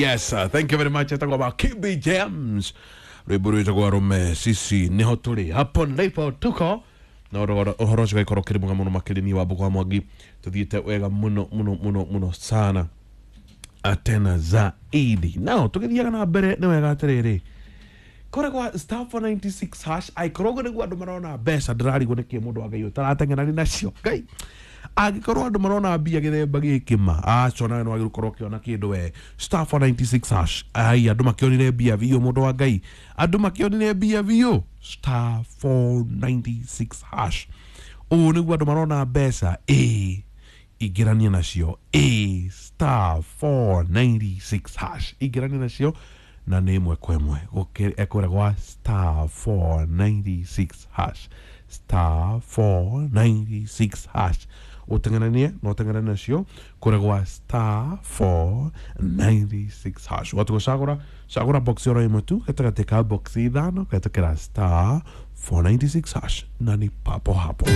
Yes, thank you very much. Etagwo Makibi James, rwimbo rwitagwo Arume Sisi Niho Tũrĩ, hapo ndipo tuko. Na ũhoro ũcio ũgagĩkorwo ũkĩrĩ mwega mũno makĩria. Niĩ Wambũkũ wa Mwangi tũthiĩte wega mũno mũno mũno mũno sana, tena zaidi. Nao tũgĩthiaga na mbere nĩ wega atĩrĩrĩ, kũrĩa kwa *496# aikorwo ũguo nĩguo andũ marona mbeca. Ndĩrarigwo nĩkĩ mũndũ wa Ngai ũtarateng'erani nacio. Ngai, angĩkorwo andũ marona mbia gĩthemba gĩkĩ, ma aca nawe nĩwagĩrĩirwo gũkorwo ũkĩona kĩndũ we. *496#, ai, andũ makĩonire mbia biũ. Mũndũ wa Ngai, andũ makĩonire mbia biũ. *496# ũũ nĩguo andũ marona mbeca. Ĩĩ, ingĩrania nacio. Ĩ *496# ingĩrania nacio na nĩ ĩmwe kwa ĩmwe ekũrĩa gwa *496#, *496# ũteng'eranie na ũteng'eranie nacio kũrĩa gwa *496#. Watu gũcagũra, cagũra box oro ĩmwe tu gatagatĩ ka box ithano kũhetũkĩra *496# na ni papo hapo.